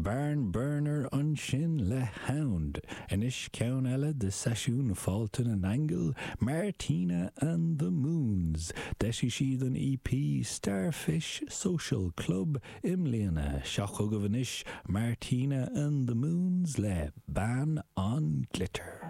Barn Burner ansin le Hound. Anois ceann eile de seisiún Fáilte na nAingeal, Martina and the Moons. D'eisigh siad an EP Starfish Social Club i mbliana. Seo chugaibh anois Martina and the Moons le Bean an Ghlitter.